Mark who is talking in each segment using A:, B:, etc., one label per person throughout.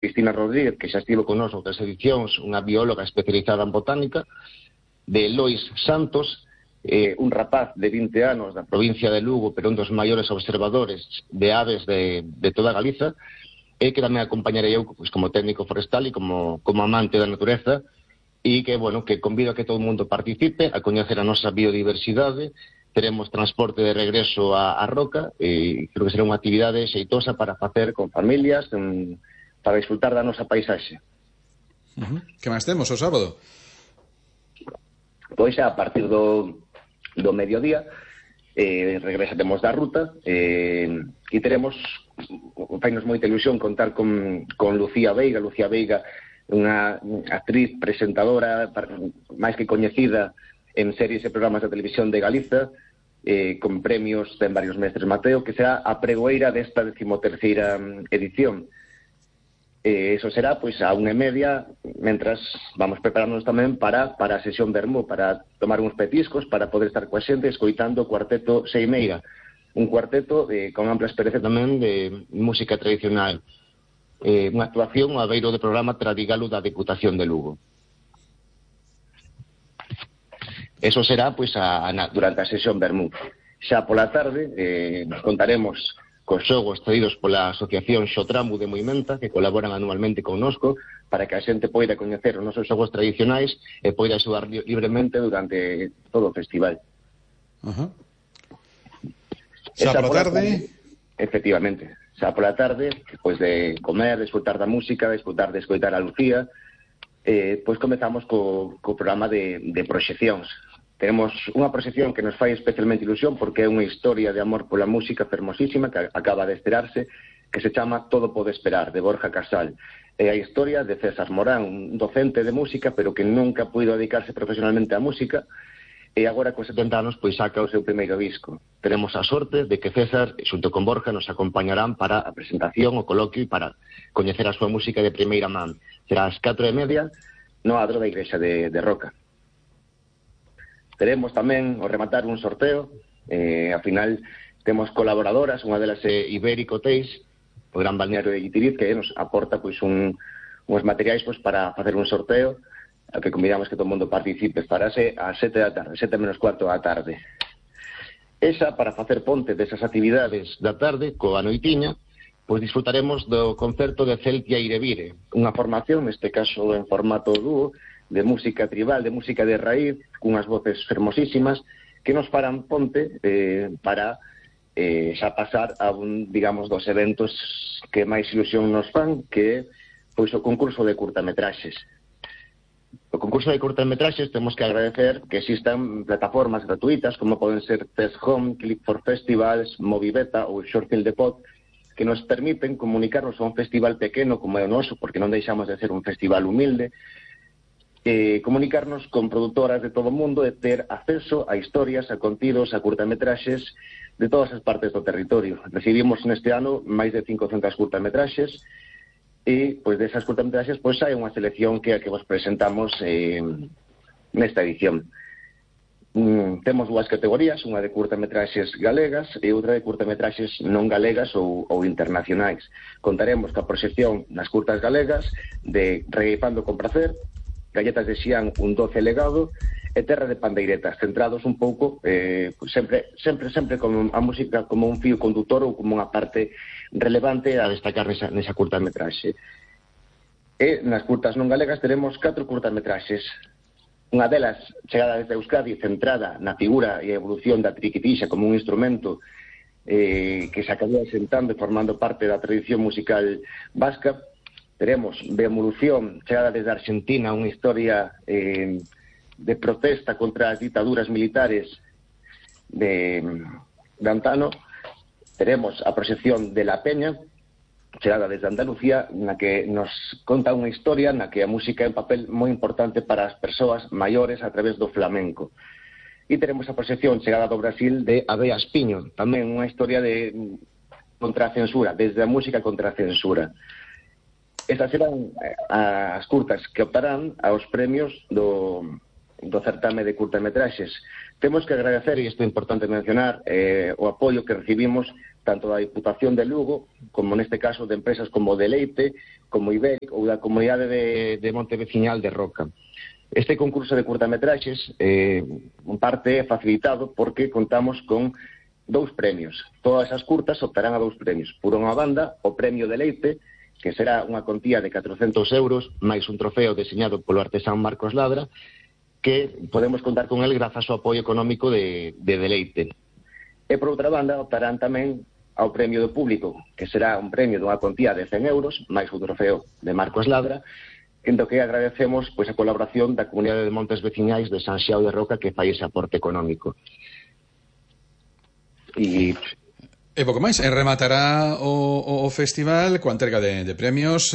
A: Cristina Rodríguez, que xa estivo con nós outras edicións, unha bióloga especializada en botánica, de Lois Santos, un rapaz de 20 anos da provincia de Lugo, pero un dos maiores observadores de aves de toda Galiza, e que tamén acompañarei eu pues, como técnico forestal e como amante da natureza, e que, bueno, que convido a que todo o mundo participe, a coñecer a nosa biodiversidade. Teremos transporte de regreso a Roca, e creo que será unha actividade xeitosa para facer con familias, para disfrutar da nosa paisaxe.
B: Que máis temos o sábado?
A: Pois xa a partir do mediodía regresaremos da ruta e teremos, fainos moita ilusión contar con Lucía Veiga. Lucía Veiga, unha actriz presentadora máis que coñecida en series e programas de televisión de Galiza, con premios en varios mestres Mateo, que será a pregoeira desta 13ª edición. Eso será pois a 1:30, mentras vamos preparándonos tamén para a sesión vermú, para tomar uns petiscos, para poder estar coa xente escoitando o cuarteto Seimeira, un cuarteto con ampla experiencia tamén de música tradicional, unha actuación a beiro do programa Tradigalo da Deputación de Lugo. Eso será pois durante a sesión vermú. Xa pola tarde nos contaremos cos xogos traídos pola Asociación Xotramu de Moimenta, que colaboran anualmente connosco, para que a xente poida coñecer os nosos xogos tradicionais e poida xogar libremente durante todo o festival.
B: Xa pola tarde?
A: Efectivamente, xa pola tarde, pois de comer, de escutar da música, de escoitar a Lucía, pois comezamos co programa de proxeccións. Tenemos unha proxección que nos fai especialmente ilusión porque é unha historia de amor pola música fermosísima que acaba de estrearse, que se chama Todo pode esperar, de Borja Casal. É a historia de César Morán, un docente de música, pero que nunca puido dedicarse profesionalmente á música, e agora con 70 anos pois saca o seu primeiro disco. Tenemos a sorte de que César, xunto con Borja, nos acompañarán para a presentación, o coloquio e para coñecer a súa música de primeira man. Será ás 4:30 no adro da igrexa de Roca. Teremos tamén, ao rematar, un sorteo. Ao final temos colaboradoras, unha delas é Ibérico Hotéis, o gran balneario de Guitiriz, que nos aporta pois uns materiais pois para facer un sorteo, ao que convidamos que todo o mundo participe. Farase ás 7 da tarde, 7 menos cuarto da tarde. Esa, para facer ponte desas actividades da tarde, coa noitiña, pois disfrutaremos do concerto de Celtia Irevire, unha formación, neste caso en formato dúo, de música tribal, de música de raíz, cunhas voces fermosísimas, que nos farán ponte para xa pasar a digamos, dos eventos que máis ilusión nos fan, que é pois o concurso de curtametraxes. O concurso de curtametraxes temos que agradecer que existan plataformas gratuitas, como poden ser Fest Home, Click for Festivals, Movibeta ou Shortfield Depot, que nos permiten comunicarnos a un festival pequeno como é o noso, porque non deixamos de ser un festival humilde, comunicarnos con produtoras de todo o mundo e ter acceso a historias, a contidos, a curtametraxes de todas as partes do territorio. Recibimos neste ano máis de 500 curtametraxes e, pois, desas curtametraxes, pois, hai unha selección que é a que vos presentamos nesta edición. Temos dúas categorías, unha de curtametraxes galegas e outra de curtametraxes non galegas ou internacionais. Contaremos coa proxección nas curtas galegas de Regueifando con Pracer, Galletas de Xián, un doce legado, e Terra de Pandeiretas, centrados un pouco sempre como a música como un fío condutor ou como unha parte relevante a destacar nesa curtametraxe. E nas curtas non galegas teremos 4 curtametraxes. Unha delas chegada desde Euskadi, centrada na figura e evolución da triquitixa como un instrumento que se acabou sentando e formando parte da tradición musical vasca. Teremos Beevolución, chegada desde Argentina, unha historia de protesta contra as ditaduras militares de antano. Teremos a proxección de La Peña, chegada desde Andalucía, na que nos conta unha historia na que a música é un papel moi importante para as persoas maiores a través do flamenco. E teremos a proxección chegada do Brasil de Abea Espiño, tamén unha historia contra a censura, desde a música contra a censura. Estas serán as curtas que optarán aos premios do do certame de curtametraxes. Temos que agradecer, e isto é importante mencionar, o apoio que recibimos tanto da Diputación de Lugo, como neste caso de empresas como Deleite, como Ibéric ou da Comunidade de Monte Veciñal de Roca. Este concurso de curtametraxes en parte é facilitado porque contamos con 2 premios. Todas as curtas optarán a 2 premios. Por unha banda, o premio Deleite, que será unha contía de 400 euros, máis un trofeo deseñado polo artesán Marcos Ladra, que podemos contar con el grazas ao apoio económico de Deleite. E por outra banda, optarán tamén ao premio do público, que será un premio dunha contía de 100 euros, máis un trofeo de Marcos Ladra, en do que agradecemos pois a colaboración da Comunidade de Montes Veciñais de San Xiao de Roca que fai ese aporte económico. E
B: pouco máis, rematará o festival coa entrega de premios.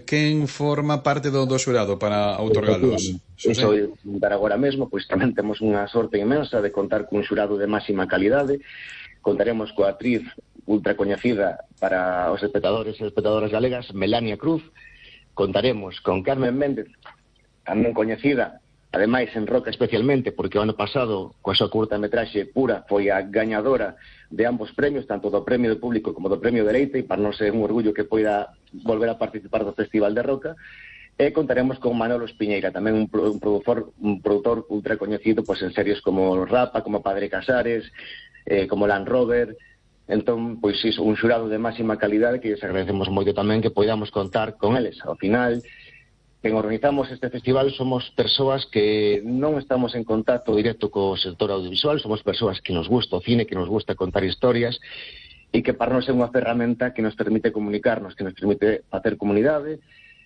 B: Quen forma parte do xurado para outorgalos?
A: Iso é dar agora mesmo, pois tamén temos unha sorte inmensa de contar cun xurado de máxima calidade. Contaremos coa actriz ultra coñecida para os espectadores e espectadoras galegas, Melania Cruz. Contaremos con Carmen Méndez, tamén coñecida, ademais en Roca especialmente, porque o ano pasado, coa súa curtametraxe Pura, foi a gañadora de ambos premios, tanto do premio do público como do premio Deleite, e para non ser un orgullo que poida volver a participar do Festival de Roca. E contaremos con Manolo Espiñeira, tamén un produtor ultra coñecido pois en series como Rapa, como Padre Casares, como Land Rover. Entón, pois iso, un xurado de máxima calidade que les agradecemos moito tamén que poidamos contar con eles. Ao final, quen organizamos este festival somos persoas que non estamos en contacto directo co sector audiovisual, somos persoas que nos gusta o cine, que nos gusta contar historias e que para nós é unha ferramenta que nos permite comunicarnos, que nos permite facer comunidade,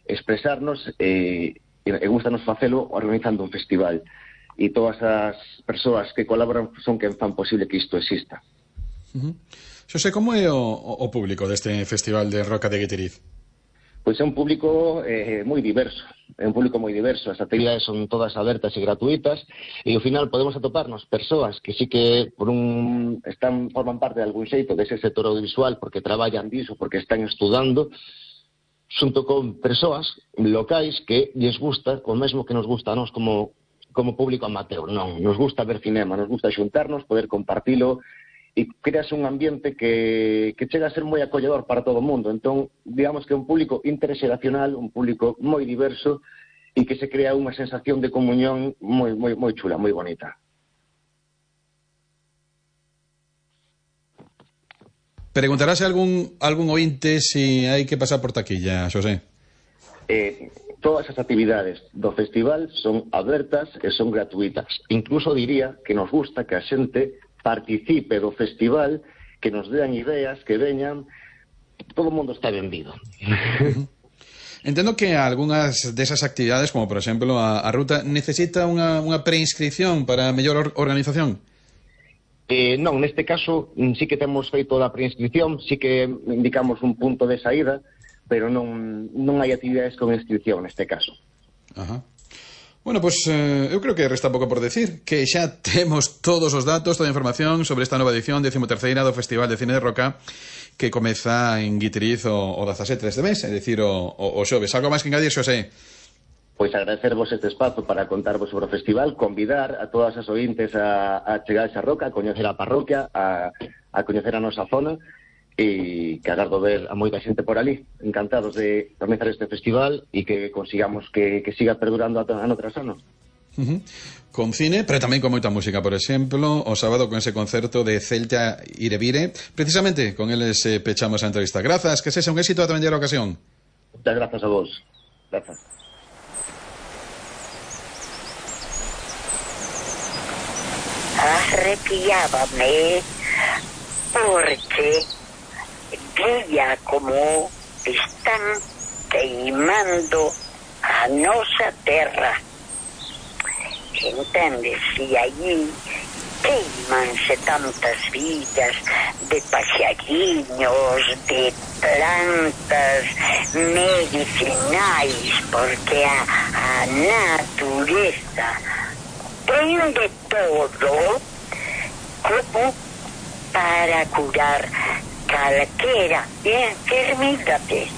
A: expresarnos e gustanos facelo organizando un festival. E todas as persoas que colaboran son quen fan posible que isto exista.
B: Xosé, como é o público deste Festival de Roca de Guitiriz?
A: Pois é un público moi diverso, as actividades son todas abertas e gratuitas e ao final podemos atoparnos persoas que sí que forman parte de algún xeito dese sector audiovisual porque traballan diso, porque están estudando, xunto con persoas locais que lles gusta, o mesmo que nos gusta a nós como público amateur. Non, nos gusta ver cinema, nos gusta xuntarnos, poder compartilo, e creas un ambiente que chega a ser moi acolledor para todo o mundo. Entón, digamos que é un público interxeracional, un público moi diverso e que se crea unha sensación de comunión moi chula, moi bonita.
B: Preguntarase algún ointe se hai que pasar por taquilla, Xosé?
A: Todas as actividades do festival son abertas e son gratuitas. Incluso diría que nos gusta que a xente participe do festival, que nos dean ideas, que veñan, todo o mundo está benvido.
B: Entendo que algunhas desas actividades, como por exemplo a ruta, necesita unha preinscripción para mellor organización?
A: Non, neste caso sí que temos feito a preinscripción, sí que indicamos un punto de saída, pero non hai actividades con inscripción neste caso.
B: Ajá. Bueno, pois eu creo que resta pouco por decir, que xa temos todos os datos, toda a información sobre esta nova edición 13ª do Festival de Cine de Roca que comeza en Guitiriz o 17 deste mes, é dicir, o xoves. Algo máis que engadir, Xosé?
A: Pois agradecervos este espazo para contarvos sobre o festival, convidar a todas as ointes a chegar a esa roca, a coñecer a parroquia, a coñecer a nosa zona, e que agardo ver a moita xente por ali. Encantados de organizar este festival e que consigamos que siga perdurando ano tras ano.
B: Con cine, pero tamén con moita música. Por exemplo, o sábado con ese concerto de Celta Irevire. Precisamente con eles pechamos a entrevista. Grazas, que sexa un éxito a tamén a ocasión.
A: Muchas grazas a vos. Grazas.
C: Arrepiábame porque veía como están queimando a nosa terra. Entendes? E aí queimanse tantas vidas de paxariños, de plantas medicinais, porque a natureza ten de todo como para curar calquera enfermidade.